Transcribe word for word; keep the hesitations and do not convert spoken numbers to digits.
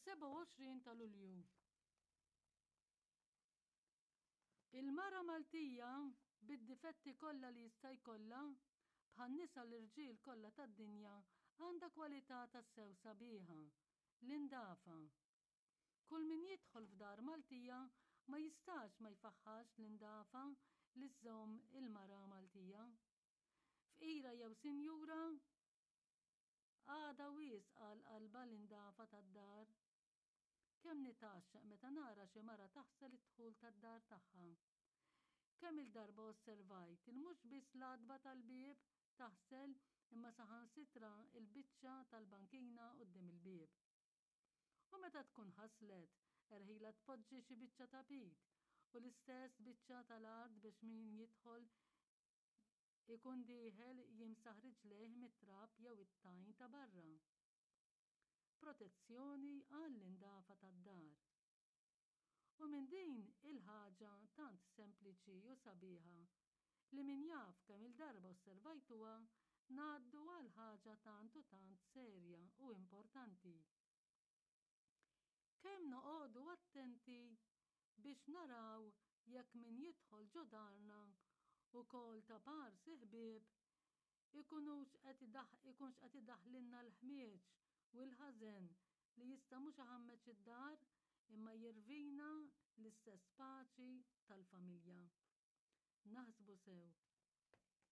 Is-sebgħa u għoxrin ta' Lulju. Il-mara Maltija, bid-difetti kollha li jista' jkollha, bħan-nisa l-irġiel kollha tad-dinja, għandha kwalità tassew sabiħa, l-indafa. Kull min jidħol f'dar Maltija ma jistax ma jfaħħax l-indafa li żżomm il-mara Maltija. Fqira jew sinjura, għadha wisq għal qalbha l-indafa tad-dar. Kemm nitgħaxxaq meta nara xi mara taħsel id-dħul tad-dar tagħha. Kemm-il darba osservajt il mhux biss l-għatba tal-bieb taħsel imma saħansitra l-biċċa tal-bankina quddiem il-bieb. U meta tkun ħaslet, erħilha tpoġġi xi biċċa tapit u l-istess biċċa tal-art biex min jidħol ikun dieħel jimsaħ riġlejh mit-trab jew it-tajn ta' barra. Protezzjoni għall-indafa tad-dar. U minn din il-ħaġa tant sempliċi u sabiħa li min jaf kemm-il darba osservajtuha ngħaddu għal ħaġa tant u tant serja u importanti. Kemm noqogħdu attenti biex naraw jekk min jidħol ġo darna ukoll ta' parsi ħbieb ikunux qed ikunx qed idaħħlilna l-ħmieġ u l-ħażen li jista' mhux iħammeġ id-dar imma jirvina l-istess paċi tal-familja. Naħsbu sew.